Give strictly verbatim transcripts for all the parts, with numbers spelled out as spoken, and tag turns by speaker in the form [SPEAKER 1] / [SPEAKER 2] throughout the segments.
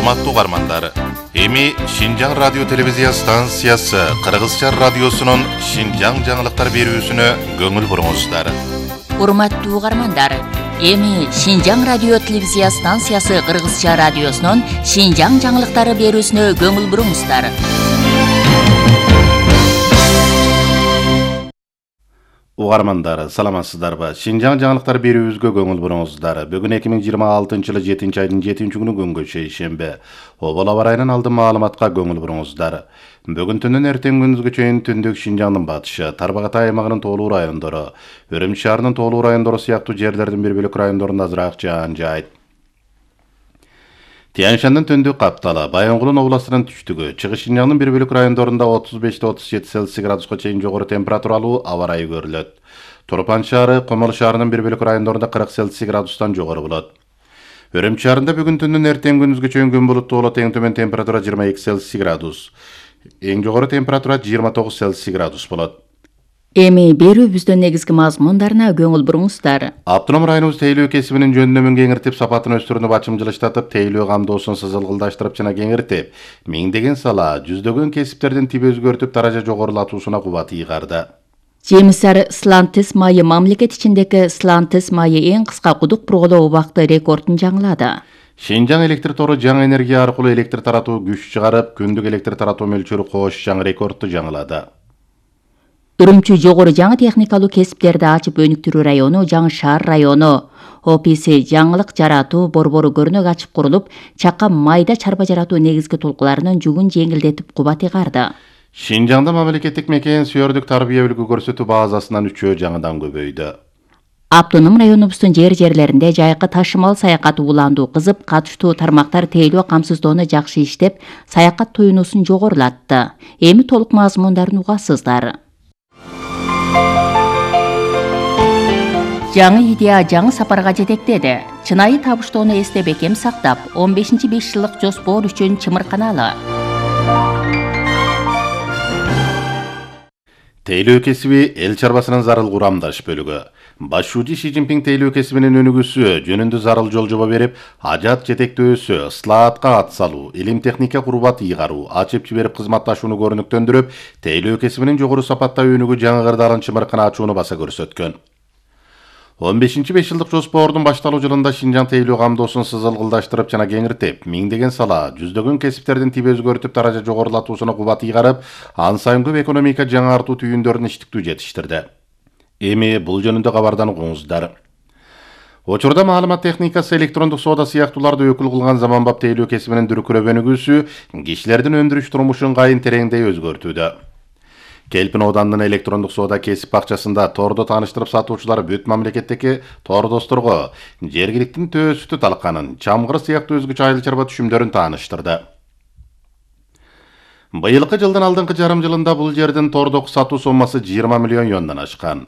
[SPEAKER 1] Урматтуу угармандар, эми Шинжаң радио телевизия станциясы Кыргызча радиосунун Шинжаң жаңылыктар берүүсүнө көңүл буруңуздар.
[SPEAKER 2] Урматтуу угармандар, эми Шинжаң радио телевизия станциясы Кыргызча радиосунун Шинжаң жаңылыктары берүүсүнө көңүл буруңуздар.
[SPEAKER 3] Угармандар, саламатсыздарбы? Шинжаң жаңылыктар берүүбүзгө көңүл буруңуздар. Бүгүн эки миң жыйырма алтынчы жылы жетинчи айдын жетинчи күнү күнгө шейшембе. Обол аба ырайынан алдын маалыматка көңүл буруңуздар. Бүгүн түнүн эртең күндүзгө чейин түндүк Шинжаңдын батышы, Тарбагатай аймагынын тоолуу райондору, Өрүмчү шаарынын тоолуу райондору сыяктуу жерлердин бир бөлүк райондорунда азыраак жаан жаайт. Тянь-Шандын түндүк капталы, Баянгулдун областынын түштүгү, Чыгыш Шинжаңдын бир бөлүк райондорунда отуз бештен отуз жети цельсий градуска чейин жогору температуралуу аба ырайы көрүлөт. Турпан шаары, Комол шаарынын бир бөлүк райондорунда кырк цельсий градустан жогору болот. Өрүмчү шаарында бүгүн түндүн эртең күндүзгө чейин күн булуттуу болот, эң төмөн температура жыйырма эки цельсий градус. Эң жогору температура жыйырма тогуз цельсий градус болот.
[SPEAKER 2] Эми берүүбүздүн негизги мазмундарына көңүл буруңуздар.
[SPEAKER 3] Автоном районубуз тейлөө кесибинин жөндөмүн кеңиртип, сапатын өстүрүүнү бачымжылыштатып, тейлөө камдоосун сызылгылдаштырып жана кеңиртип, миңдеген сала, жүздөгөн кесиптердин тиби өзгөртүп, даража жогорулатуусуна кубат ыйгарды.
[SPEAKER 2] Жемисар Слантис майы мамлекет ичиндеги Слантис майы эң кыска кудук бурголоо убакыты рекордун жаңылады.
[SPEAKER 3] Шинжаң электр тору жаңы энергия аркылуу электр таратуу күч чыгарып, күндүк электр таратуу мөлчөрү кош жаңы рекордду жаңылады.
[SPEAKER 2] Үрүмчү жогору жаңы техникалуу кесиптерди ачып өнүктүрүү району, Жаңы шаар району, ОПС жаңылык жаратуу борбору көрнөк ачып курулуп, чакка майда чарба жаратуу негизги толкуларынын жүгүн жеңилдетип кубат ыйгарды.
[SPEAKER 3] Шинжаңда мамлекеттик мекен сүйөрдүк тарбия үлгү көрсөтүү базасынан үчөө жаңыдан көбөйдү.
[SPEAKER 2] Автоном районубуздун жер жерлеринде жайкы ташымал саякат уландуу кызып, катыштуу тармактар тейлөө камсыздоону жакшы иштеп, саякат туюнуусун жогорулатты. Эми толук мазмундарын угасыздар. Жаңы идея жаңы сапарга жетектеди. Чынайы табыштоону эсте бекем сактап, он бешинчи беш жылдык жоспор үчүн чымырканалы.
[SPEAKER 3] Тейлөө кесиби эл чарбасынын зарыл курамдаш бөлүгү. Башчы Ши Цзиньпин тейлөө кесибинин өнүгүүсү жөнүндө зарыл жол жоба берип, ажат жетектөөсү, ыслаатка ат салуу, илим техника курбат ыйгаруу, ачып жиберип кызматташууну көрүнүктөндүрүп, тейлөө кесибинин жогору сапатта өнүгүү жаңы кырдаалын чымыркана ачууну баса көрсөткөн. он бешинчи беш жылдык жоспордун башталуу жылында Шинжаң тейлөө камдоосун сызылгылдаштырып жана кеңиртип, миңдеген сала, жүздөгөн кесиптердин тиби өзгөртүп, даража жогорулатуусуна кубат ыйгарып, ан сайын көп экономика жаңартуу түйүндөрүн иштиктүү жетиштирди. Эми бул жөнүндө кабардан угуңуздар. Учурда маалымат техникасы, электрондук соода сыяктууларды өкүл кылган заманбап тейлөө кесибинин дүркүрөп өнүгүүсү кишилердин өндүрүш турмушун кайын тереңдей өзгөртүүдө. Келпин Оодандын электрондук соода кесип бакчасында тордо тааныштырып сатуучулар бүт мамлекеттеги тордосторго жергиликтин төө сүтү талканын, чамгыр сыяктуу өзгөчө айыл чарба түшүмдөрүн тааныштырды. Быйылкы жылдын алдыңкы жарым жылында бул жердин тордок сатуу соммасы жыйырма миллион юандан ашкан.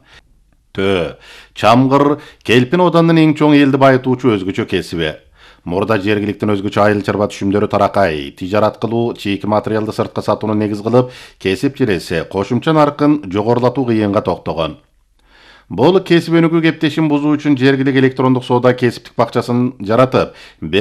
[SPEAKER 3] Төө, чамгыр Келпин Оодандын эң чоң элди байытуучу өзгөчө кесиби. Мурда жергиликтин өзгөчө айыл чарба түшүмдөрү таракай, тижарат кылуу, чийки материалды сыртка сатууну негиз кылып, кесип желесе кошумча наркын жогорулатуу кыйынга токтогон. Бул кесип өнүгүү кептешин бузуу үчүн жергилик электрондук соода кесиптик бакчасын жаратып, бир